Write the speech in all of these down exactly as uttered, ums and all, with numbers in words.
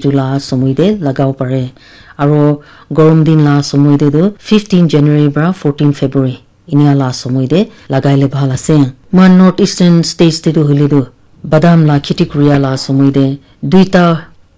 etu la somoi te lagabo pare. Aro gorom din la somoi te tu fifteen January para fourteen February inia la somoi te lagai le bhal ase. Moikhan North Eastern States te tu hoile tu badam la kheti kuria la somoi te duita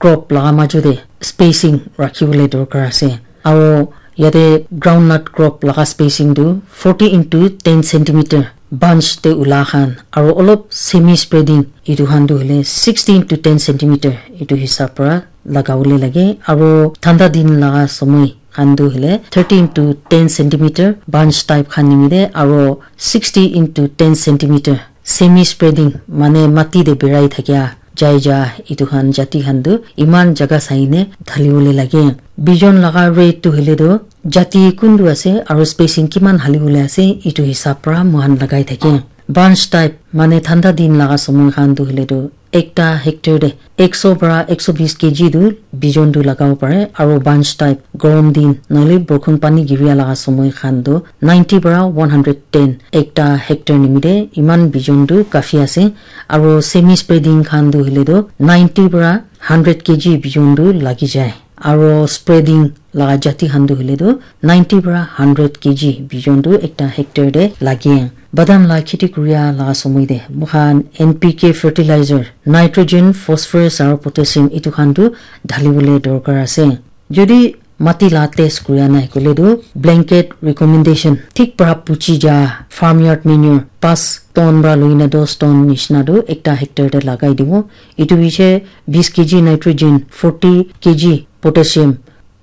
crop laga majo te spacing rakhi bole dorkar ase. Aro yate groundnut crop laga spacing tu forty into ten centimeter bunch te ula khan, aro olop semi spreading etu khan tu hoile sixty into ten centimeter etu hisab para lagabole lage. Aro thanda din laga somoi khan tu hoile thirty into ten centimeter bunch type khan nimite aro sixty into ten centimeter semi spreading mane mati te birai thakia jai ja etu khan jati khan tu iman jaga sai ne dhali bole lage. Bijon laga rate tu hoile tu jati kuntu ase aro spacing kiman hali bole ase etu hisab para moikhan lagai thake. Bunch type mane thanda din laga somoi khan tu hoile tu ekta hectare te ekso para ekso bis kg tu bijon tu lagabo pare, aro bunch type gorom din nohole borkhon pani giria laga somoi khan tu ninety para one hundred ten ekta hectare nimite iman bijon tu kafi ase, aro semi spreading khan tu hoile tu ninety para hundred kg bijon tu lagi jai, aro spreading laga jati khan tu hoile tu ninety para hundred kg bijon tu ekta hectare te lage. Badam la kheti kuria laga somoi te moikhan N P K fertilizer, nitrogen, phosphorus aro potassium etu khan tu dhali bole dorkar ase. Jodi mati la test kuria nai koile tu blanket recommendation thik para puchi ja farmyard manure pas ton para loina dos ton nishina tu ekta hectare te lagai dibo. Etu piche bis kg nitrogen, forty kg potassium,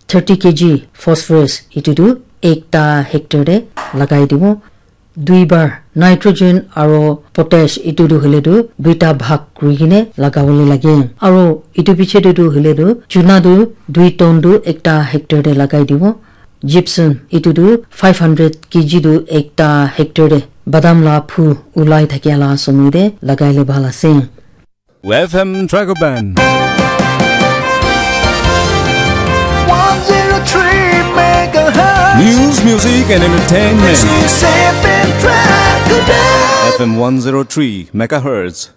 thirty kg phosphorus etu tu ekta hectare te lagai dibo. Dui bar nitrogen aro potash etu tu hoile tu duita bhag kuri kene lagabole lage. Aro etu piche te tu hoile tu chuna tu dui ton tu ekta hectare te lagai dibo. Gypsum etu tu five hundred kg tu ekta hectare te badam la phu ulai thakia la somoi te lagai le bhal ase. F M Dragoban. One zero three megahertz. News, music, and entertainment. This is F M Dragoban. F M one zero three megahertz.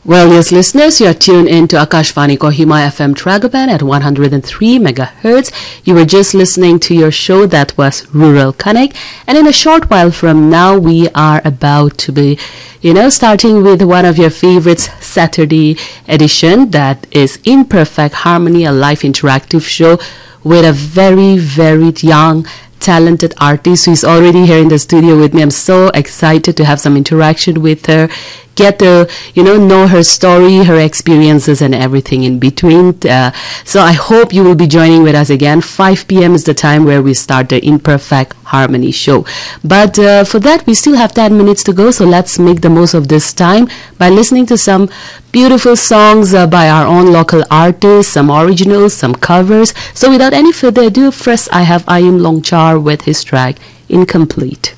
Well, yes, listeners, you are tuned in to Akashvani Kohima F M Dragoban at one hundred and three megahertz. You were just listening to your show that was Rural Connect. And in a short while from now, we are about to be, you know, starting with one of your favorites, Saturday edition, that is Imperfect Harmony, a live interactive show with a very, very young, talented artist who is already here in the studio with me. I'm so excited to have some interaction with her, get to, you know, know her story, her experiences, and everything in between. Uh, so I hope you will be joining with us again. Five p m is the time where we start the Imperfect Harmony show. But uh, for that, we still have ten minutes to go. So let's make the most of this time by listening to some beautiful songs uh, by our own local artists, some originals, some covers. So without any further ado, first I have Ayim Longchar with his track Incomplete.